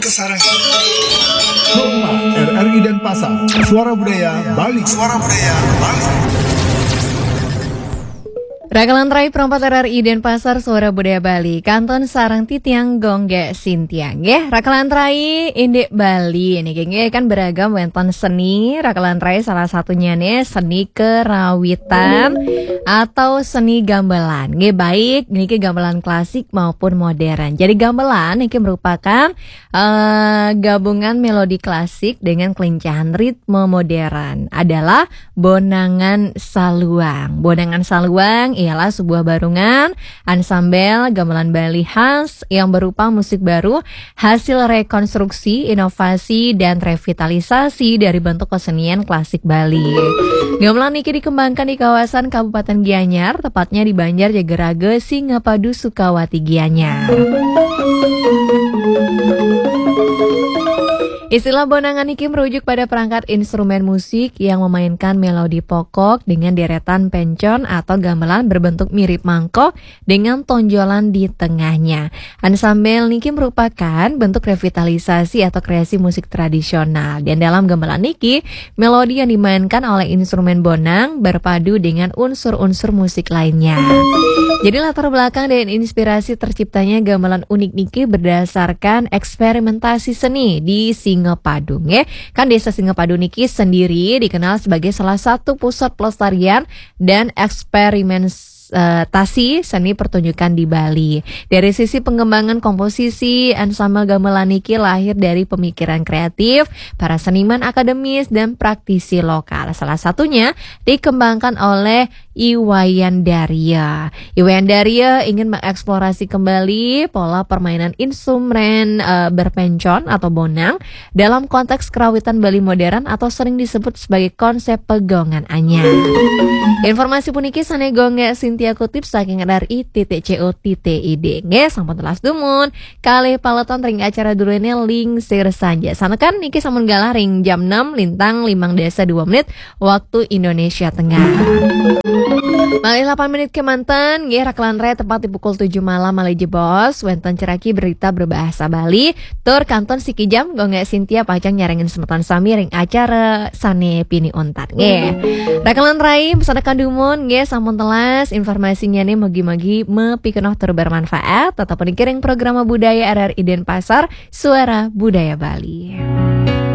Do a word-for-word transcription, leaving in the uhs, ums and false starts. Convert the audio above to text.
Sarang. Rumah R R I Denpasar, Suara Budaya Bali. Suara Budaya Bali. Rakalan rai perempat R R I Denpasar, Suara Budaya Bali, kantun sareng titiang Gung Gek Sintia. Nggih, rakalan rai indik Bali niki nggih kan beragam wénten seni. Rakalan rai salah satunya nih seni kerawitan atau seni gamelan. Nggih, baik niki gamelan klasik maupun modern. Jadi gamelan niki merupakan eh, gabungan melodi klasik dengan kelincahan ritme modern, adalah bonangan saluang. Bonangan saluang ialah sebuah barungan ansambel gamelan Bali khas yang berupa musik baru hasil rekonstruksi, inovasi, dan revitalisasi dari bentuk kesenian klasik Bali. Gamelan niki dikembangkan di kawasan Kabupaten Gianyar, tepatnya di Banjar Jageraga, Singapadu, Sukawati, Gianyar. Istilah bonangan niki merujuk pada perangkat instrumen musik yang memainkan melodi pokok dengan deretan pencon atau gamelan berbentuk mirip mangkok dengan tonjolan di tengahnya. Ansambel niki merupakan bentuk revitalisasi atau kreasi musik tradisional. Dan dalam gamelan niki, melodi yang dimainkan oleh instrumen bonang berpadu dengan unsur-unsur musik lainnya. Jadi latar belakang dan inspirasi terciptanya gamelan unik niki berdasarkan eksperimentasi seni di Singapadu, nggih. Kan Desa Singapadu niki sendiri dikenal sebagai salah satu pusat pelestarian dan eksperimentasi seni pertunjukan di Bali. Dari sisi pengembangan komposisi, ensemble gamelan niki lahir dari pemikiran kreatif para seniman akademis dan praktisi lokal. Salah satunya dikembangkan oleh Iwayan Darya. Iwayan Darya ingin mengeksplorasi kembali pola permainan instrumen eh, berpencon atau bonang dalam konteks kerawitan Bali modern atau sering disebut sebagai konsep pegongan anyar. Informasi puniki sané Gung Gek Sintia kutip saking R R I titik C O titik I D. Nggih, sampun telas dumun kalih paleton ring acara duréné Lingsir Sanja. Sanekan niki sampun galah ring jam enam lintang limang dasa dua menit waktu Indonesia Tengah. Malih lapan menit kemanten, nggih, rakalan rai tepat di pukul tujuh malam malih jebos, wénten ceraki berita berbahasa Bali, tur kantun sikijam Gung Gek Sintia pacang nyarengin semeton sami ring acara sané pinih untat, nggih. Rakalan rai, sanekan dumun, nggih, sampun telas informasinya nih, mugi-mugi mapikenoh tur bermanfaat. Tetep niki ring Programa Budaya R R I Denpasar, Suara Budaya Bali.